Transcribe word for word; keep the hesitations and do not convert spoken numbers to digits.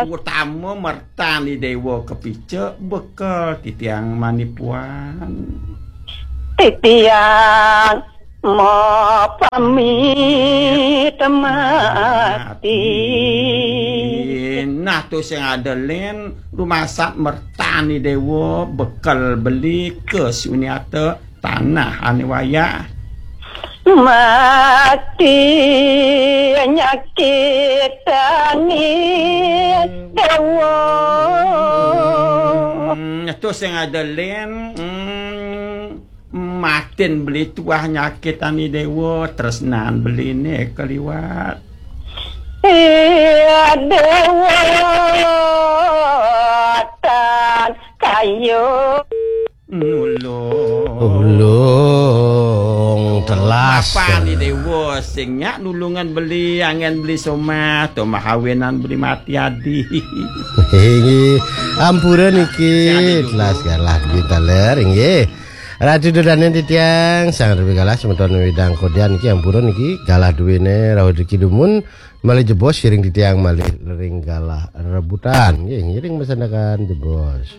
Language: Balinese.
Utama mertan Ida Déwa kapica bekel titiang manipuan. Titiang mapamit mati. Nah, to sing ada lén rumasat mertan Ida Déwa bekel beli ka Sunyata tanah ané wayah. Mati nyakitani Déwa. Hmm, to sing ada lén, hmm, matin beli tuah nyakitani Déwa, tresnan beliné kaliwat. Iya Déwa tan kayu. Nulung. Ulung telas. Apa ni Déwa sing nyak nulungan beli, angen beli somah, to mahawinan beli mati adi. Inggih, ampura niki. Sing adi dulu. Telas galah duwin taler, inggih. Ratu dodanen titiang, sang rebi galah semeton widang kodian niki ampura niki, galah duwine rawuh duki dumun, malih jebos siring titiang malih ring galah rebutan. Nggih, ngiring masandekan jebos.